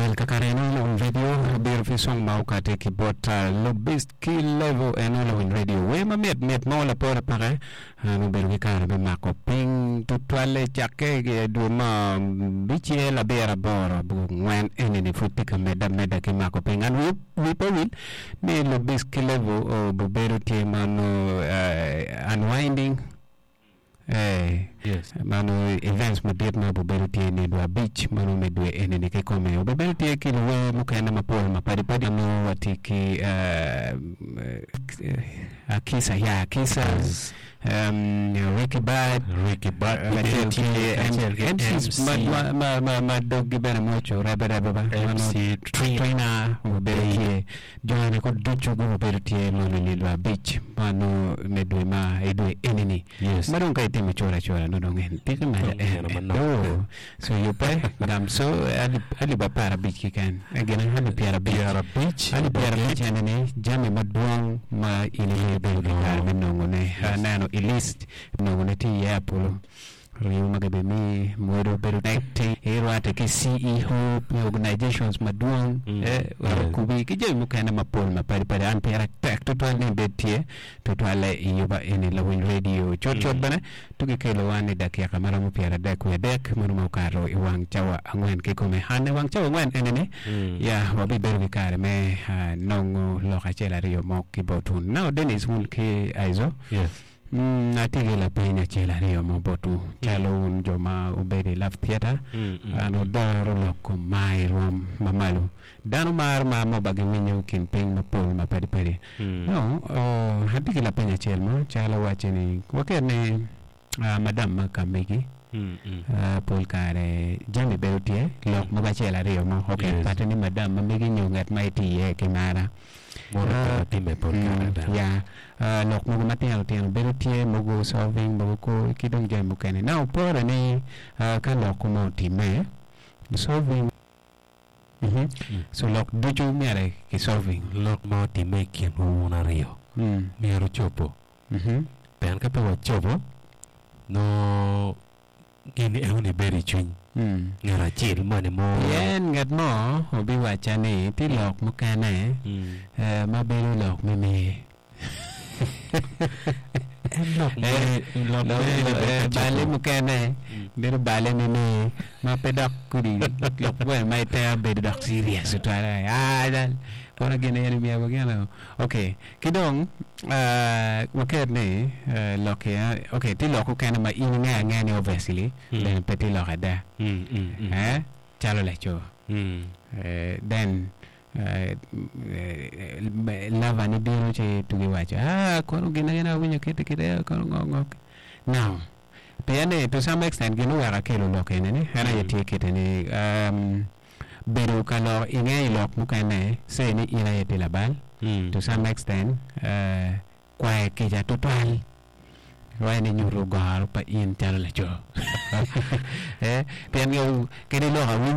Well, kakare eno Lawiny Radio obiro ki song ma okati ki bot Lobist ki Levo eno Lawiny Radio. Wer ma mit mit mo lapore peke an obedo ki kare me mako piny tutwalle cakke i dwe ma bicel abiro aboro abongwen eni-ni pud tye ka medde ameda ki mako piny. An wi pe wil ni Lobist ki Levo obedo tye ma nongo unwinding Mano events madit ma obibedo tye ni dwe abic mano me dwe eni-ni kikome. Obibedo tye ki luwer mukene mapol mapadi padi ma nongo watye ki Akisa ya Akisa, Ricky Bad, kacel ki MCs ma doggi bene mwoc orebe rebe ba Trina obibedo tye. Jo-ni kor ducu gubedo tye mono i nino abic ma nongo me dwe ma i dwe eni-ni. Ma dong ka itimo cura acura nongo dong en tiki mere Dong nino manok. Oo, so yubbe gam so alip alip aparabic keken eh gin alip pyerabic. Pyerabic. Alip pyerabic eni-ni jami madwong ma in ibedo ki kare me nongone. Aneno i list nongone tye iye apolo. Ringo ma gibimiyi mwodo bedo tek irwatte ki CEO me organizations madwong wek okubi ki jami mukene mapol mapadi padi. An pire tek tutwal ni ibed tye tutwalle i yuba eni lawiny radio. Cut cut bene tugi kelo wan i dakika ma romo 33 wiye adek meno ma okato i wang cawa angwen kikome. An i wang cawa angwen eni ni ya wabibedo ki kare me nongo lok acel aryo mo ki botwu. Now Dennis wun ki Aizo. Atye ki lapeny acel aryo mo botwu. Calo wun jo ma wubedo i Love Theatre, an wudoro lok kom mar i rwom ma malo. Dano maro mar mo ba giwinyo i kin piny mapol mapadi padi. Dong, atye ki lapeny acel mo, calo wacce ni, waket ni madam ma ka megi pol kare jami bedo tye, lok mogo acel aryo mo, ok, pate ni madam ma megi nyo ngat ma itye iye ki mara. Mono pe watimme pol kare ada. Ya, lok mogo matino tino bedo tye, mogo solving, mogo kor ki dong jami mukene. Now pore ni ka lok mo otimme, solving, so lok ducu myero ki solving. Lok ma otimme i kinwu wun aryo myero ocobo. Pien ka pe wacobo, nongo Gin enoni bedo i cwiny ngat acel moni mo. Pien ngat mo obiwacca ni tye lok mukene ma bedo lok me mer. En lok me lok me Balle mukene bedo balle me mer ma pe dok kodi lok bene ma itero bedo dok serious tutwal. Aa kono gin eni myero wagino. Ok. Ki dong, waket ni lok ki, ok, tye lok mukene ma in ingeyo angeya ni obviously bene pe tye lok ada, eh, calo laco. Then lover ni bino ci tugi waco, ah, kono gin aye awinyo kiti kiti, kono ngo ngo. Now, pien ni to some extent gin oweko akelo lok eni ni en aye tye kite ni, Bedo ka lok inge i lok mukene say ni in aye itye labal to some extent kwayo kica tutwal waci ni nyuto goro pa in calo laco pien kadi lok awiny.